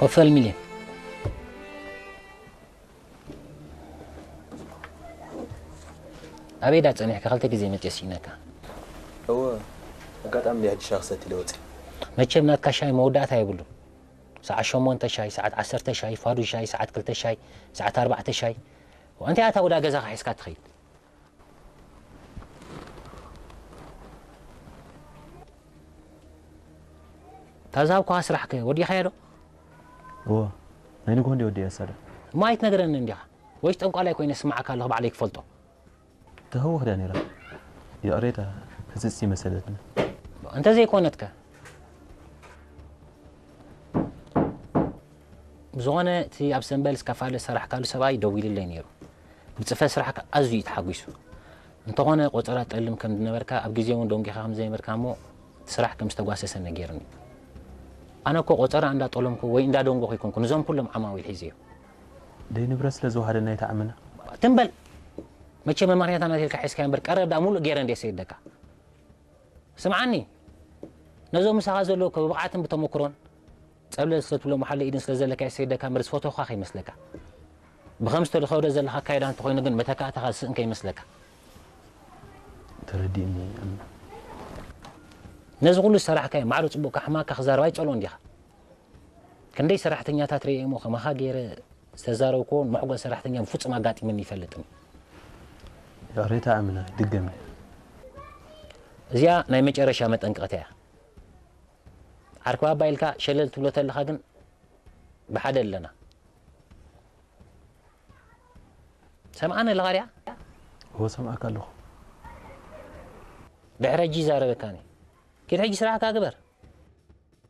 ክፈል ሚልዮን። ኣበይ ዳ ጸኒሕካ? ክልተ ግዜ መጽየ ስኢነካ። እወ፣ ኣጋጣሚ እንዲ ሕጂ ሻሂ ክሰቲ ኢለ ወጺአ። መቸም ናትካ ሻሂ መወዳእታ የብሉን። ሰዓት ሸሞንተ ሻሂ፣ ሰዓት ዓሰርተ ሻሂ፣ ፋዱ ሻሂ፣ ሰዓት ክልተ ሻሂ፣ ሰዓት ኣርባዕተ ሻሂ። እንታይ ኣታ ወዳ ገዛኻ ሒዝካ ትኸይድ? ታዛብኳ ስራሕከ ወዲኻዮ ዶ? እዎ፣ ናይ ንግሆ እንዲ ወዲያ ሳዳ። ማይት ነገረኒ እንዲኻ ወይስ ጠንቋላይ ኮይነ ስማዓካ ኣለኹ ባዕለይ ክፈልጦ። ተህውኽ ድያ ነይራ? ይቕሬታ፣ ህዝጽ ይመሰለትኒ። እንተዘይኮነትከ? ብዝኾነ እቲ ኣብ ሰንበል ዝከፋለ ዝሰራሕካሉ ሰብኣይ ደዊሉለይ ነይሩ። ብጽፈት ስራሕካ ኣዝዩ እዩ ተሓጒሱ። እንተኾነ ቆጸራ ጠልም ከም ዝነበርካ ኣብ ግዜ እውን ደንጊኻ ከም ዘይነበርካ እሞ እቲ ስራሕ ከም ዝተጓሰሰ ነጊርኒ። ኣነ እኮ ቆጸራ እንዳጠለምኩ ወይ እንዳደንጎኹ ይኮንኩ፣ ንዞም ኩሎም ዓማዊል ሒዘ እዩ። ደይ ንብረት ስለ ዝወሃደና ይተዓመና። ትም በል። መቸ መማኽንያታ ናት ኢልካ ሒዝካዮ እምበር ቀረብ ደኣ ሙሉእ ገይረ እንድየ ሰይደካ። ስምዓኒ፣ ነዞም ምሳኻ ዘለዉ እኮ ብብቕዓትን ብተመክሮን ጸብለል ስለ ትብሎም ሓለ ኢድን ስለ ዘለካ ይሰይደካ እምበር ዝፈተኹኻ ከይመስለካ። ብኸም ዝተኸደ ዘለኻ ኣካይዳ እንተኾይኑ ግን መተካእታኻ ዝስእን ከይመስለካ። ተረዲእኒ። ነዚ ኩሉ ዝሰራሕካዮ ማዕረ ጽቡቕ ካሕማካ ክዛረብ ኣይጸልኦን ዲኻ? ክንደይ ሰራሕተኛታት ርእየ እሞ ከማኻ ገይረ ዝተዛረብክዎ ንመሕጎስ ሰራሕተኛ ብፍጹም ኣጋጢሙኒ ይፈልጥን። ይቕሬታ ኣምና ይድገም። እዚኣ ናይ መጨረሻ መጠንቀቕታ እያ። ዓርኪ ባባ ኢልካ ሸለል ትብሎ ተለኻ ግን ብሓደ ኣለና። ሰምዓኒ ኣለኻ ድያ? እዎ ሰምዓካ ኣለኹ። ድሕሪ ሕጂ ይዛረበካኒ። ኪድ ሕጂ ስራሕካ ግበር።